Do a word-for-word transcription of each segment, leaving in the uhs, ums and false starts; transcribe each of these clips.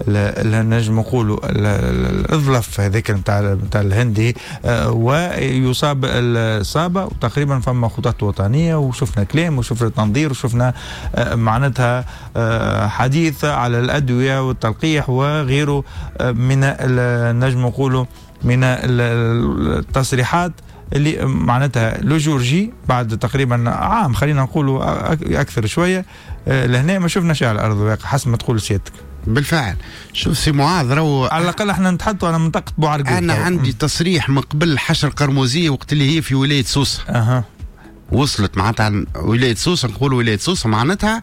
نجم نقولوا الظلف هذاك نتاع نتاع الهندي آه، ويصاب الصابه. وتقريبا فما خطط وطنيه، وشفنا كلام وشفنا تنظير وشفنا آه، معناتها آه، حديث على الادوية والتلقيح وغيره من نجم نقولوا من التصريحات اللي معناتها le jour J بعد تقريبا عام، خلينا نقولوا اكثر شويه، لهنا ما شفنا شيء على ارض الواقع حسب ما تقول سيادتك. بالفعل، شوف سي معاذ، راهو على الاقل احنا نتحدثوا على منطقة بوعرقوب. انا عندي تصريح من قبل الحشرة القرموزيه وقت اللي هي في ولاية سوسه. اها وصلت معناتها ولاية سوسه، نقول ولاية سوسة معناتها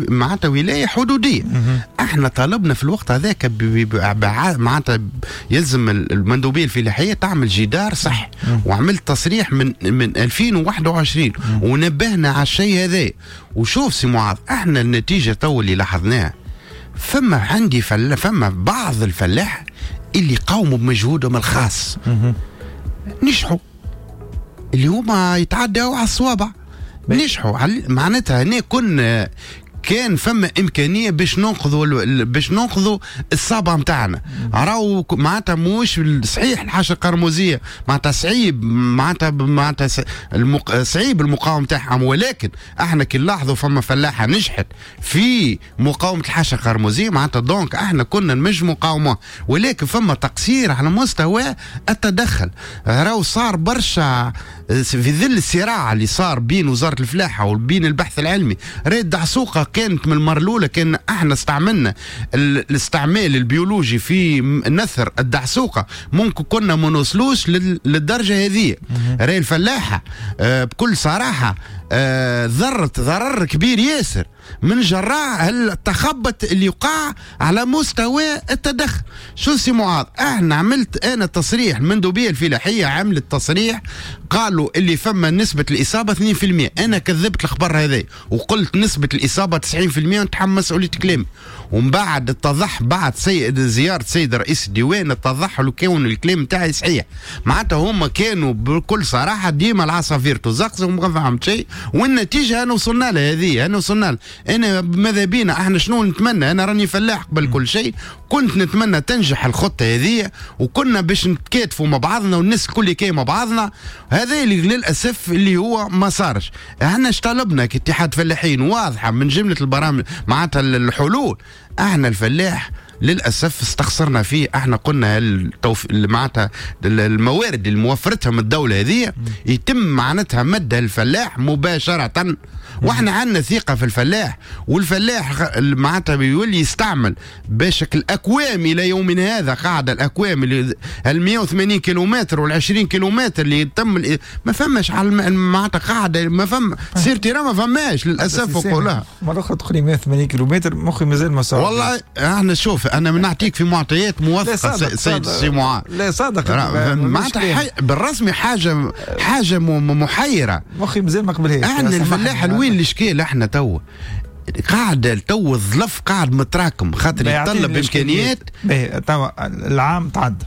معناتها ولاية حدوديه. احنا طالبنا في الوقت هذاك معناتها يلزم المندوبيه الفلاحية تعمل جدار صحي، وعملت تصريح من من ألفين وواحد وعشرين ونبهنا على الشيء هذا. وشوف سي معاذ، احنا النتيجة تو اللي لاحظناها، فما عندي فل... فما بعض الفلاح اللي قاوموا بمجهودهم الخاص، نجحوا، اللي هما يتعدوا على الصوابع، نجحوا. معناتها هنا كنا كان فما امكانية باش ننقذوا باش ننقذوا الصابه نتاعنا. راهو معناتها موش صحيح الحشرة القرموزيه معناتها صعيب معناتها معناتها المق... صعيب المقاومة تاعهم، ولكن احنا كي نلاحظوا فما فلاحة نجحت في مقاومة الحشرة القرموزيه، معناتها donc احنا كنا نجموا نقاوموها، ولكن فما تقصير على مستوى التدخل. راهو صار برشا في ظل الصراع اللي صار بين وزارة الفلاحة وبين البحث العلمي. ريت دعسوقه كانت من المرة الاولى كان احنا استعملنا الاستعمال البيولوجي في نثر الدعسوقه، ممكن كنا ما نوصلوش للدرجة هذه. راي الفلاحة آه، بكل صراحة آه، ضرت ضرر كبير ياسر من جراء التخبط اللي وقع على مستوى التدخل. شو سي معاذ، احنا عملت انا تصريح، المندوبيه الفلاحية عملت تصريح، قالوا اللي فما نسبه الاصابة اثنين في المية. انا كذبت الخبر هذا وقلت نسبه الاصابة تسعين في المية ونتحمل مسؤولية كلامي. ومن بعد اتضح بعد سيد زيارة سيد رئيس الديوان، اتضح له كون الكلام تاعي صحيح. معناتها هما كانوا بكل صراحة ديما العصافير تزقزق وما فهمت شيء، والنتيجة انا وصلنا لها هذه. انا وصلنا لها. انا ماذا بينا احنا شنو نتمنى؟ انا راني فلاح قبل كل شيء، كنت نتمنى تنجح الخطة هذه وكنا باش نتكاتفوا مع بعضنا والناس الكل كي مع بعضنا. هذا اللي للاسف اللي هو ما صارش. احنا اش طلبنا كاتحاد فلاحين؟ واضحة من جملة البرامج معناتها الحلول. احنا الفلاح للاسف استخسرنا فيه. احنا قلنا التوف... معناتها الموارد اللي موفرتها من الدولة هذه يتم معناتها مدها الفلاح مباشره، واحنا عندنا ثقة في الفلاح، والفلاح معناتها بيولي يستعمل باش الاكوام الى يومنا هذا قاعدة الاكوام اللي ال مية وثمانين كيلومتر وال عشرين كيلومتر اللي تم، ما فماش على معناتها قاعدة ما فما sur terrain، ما فماش للاسف نقولها. مرة اخرى تقولي مية وثمانين كيلومتر، مخي مازال ما صار. والله احنا شوف، انا نعطيك في معطيات موثقة سيد سي معاذ. لا صادق. معناتها بالرسمي حاجه حاجه محيره. مخي مازال ما قبلهاش. احنا الفلاح وين الاشكال؟ احنا تو قاعد تو الظلف قاعد متراكم خاطر يتطلب امكانيات. توا العام تعدى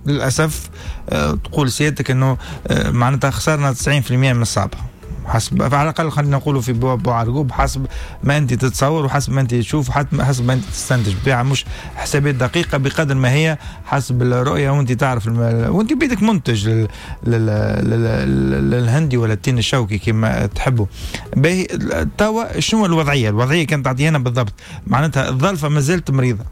للاسف، أه تقول سيادتك انه أه معناتها خسرنا تسعين في المية من الصابه حسب على الاقل خلينا نقولوا في بوعرقوب، حسب ما انت تتصور وحسب ما انت تشوف وحسب ما انت تستنتج. بيع مش حسابات دقيقة بقدر ما هي حسب الرؤيه، وانت تعرف الم... وانت بيدك منتج لل... لل... لل... للهندي ولا التين الشوكي كما تحبوا. باهي، توا شنو الوضعية؟ الوضعية كانت تعطينا بالضبط معناتها الظلفه ما زالت مريضه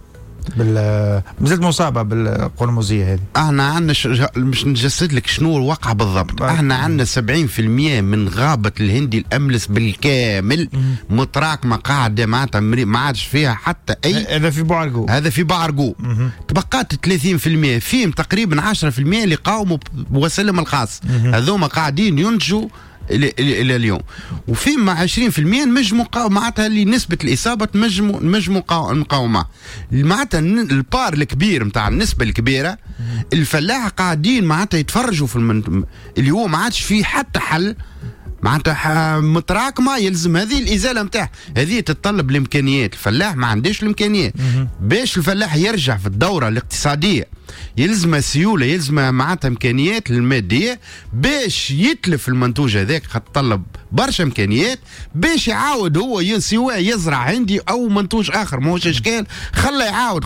بال مازالت مصابه بالقرمزيه هذه. احنا عندنا ش... مش نجسد لك شنو الواقع بالضبط. احنا عندنا سبعين في المية من غابه الهندي الاملس بالكامل متراكمه قاعدة معناتها ما عادش فيها حتى اي. هذا في بوعرقوب. هذا في بوعرقوب. تبقات ثلاثين في المية، فيهم تقريبا عشرة في المية اللي قاوموا بوسائلهم الخاص، هذوما قاعدين ينتجوا الى الى اليوم، وفي مع عشرين في المية نجموا معناتها اللي نسبه الاصابة نجموا نجموا نقاومها. معناتها ال part الكبير نتاع النسبة الكبيرة الفلاحة قاعدين معناتها يتفرجوا في المن... اللي هو ما عادش فيه حتى حل، معناتها متراكمه، يلزم هذه الازالة نتاعها. هذه تتطلب الامكانيات، الفلاح ما عندوش الامكانيات. باش الفلاح يرجع في الدورة الاقتصادية يلزم سيوله، يلزم معناتها امكانيات المادية باش يتلف المنتوج هذاك، تطلب برشا امكانيات باش يعاود هو سواء يزرع عندي او منتوج اخر، ماهوش اشكال، خلى يعاود.